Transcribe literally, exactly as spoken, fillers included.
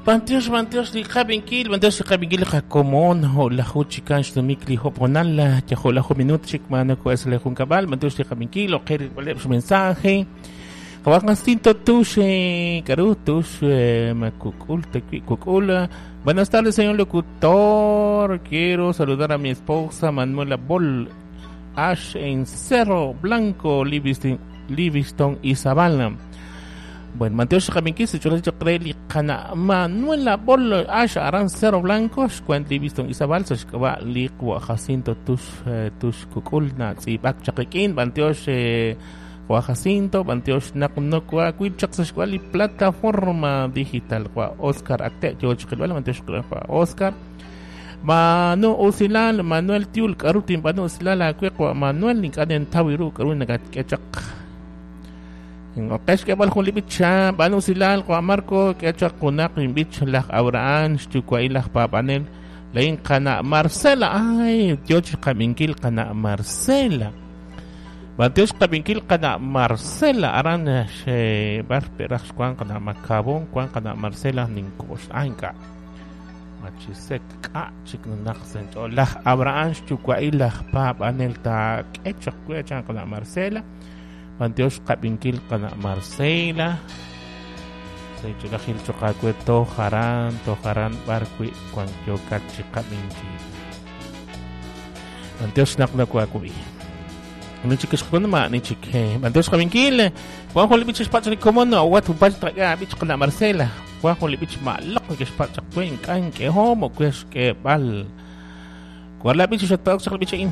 Bantiox, bantiox li qabinkil, bantiox li qabinkil qakomon, ho la juchikan xtumik li hoponal, yajo la minut chik manako es le junkabal, bantiox li qabinkil, o qer su mensaje. Jacinto Tush, Karu Tush, Makukul, Kukul. Buenas tardes, señor locutor. Quiero saludar a mi esposa Manuela Bol Ash en Cerro Blanco, Livingston, Livingston y Zavala. Bueno, Mateo Xaminkis, Choreli, Cana Manuela Bol Ash Aran Cerro Blanco, Xcuent Livingston Izabal, Xcaba Liqua Jacinto Tush Tush Kukul, Natsi Bak Chakikin, Banteosh Jacinto, Banteosh Naknokwa, Cuichaxuali, plataforma digital, Oscar Acte, George Banteosh Oscar. Manu Usilal, Manuel Tiul, Karutin, Manu Usilal, Acueco, Manuel, Nikaden Tawiru, Karuna, Ketchak. Okesh kebal jun libicha, Manu Usilal, Juan Marco, Ketchak, Kunak, Bich, Laj Abraham, Chukwai, Laj Papanel, Lein Kana Marcela, ay, George Kaminkil, Kana Marcela. Mateus Kaminkil, Kana Marcela, Aran, She, Bar, Peraj, Juan, Kana Macabón, Juan, Kana Marcela, Ninkos, Anka. Machisek ka chiknaq laj Abraham chukwai laj pap anel ta kechak kwechan kana Marcela Manteos kabinkil kana Marcela Seichulajil chokakwe to jaran to jaran barkui cuankyo kachi kabinkil Manteos naknakwakubi Nichikishkuna ma nichik Manteos kabinkil Juan Jolibich pachri komono wat upach traga bich kana Marcela Juan Jolibich ma lok que spach kwen kan que homo que que bal Cuál la bich shot pa bich in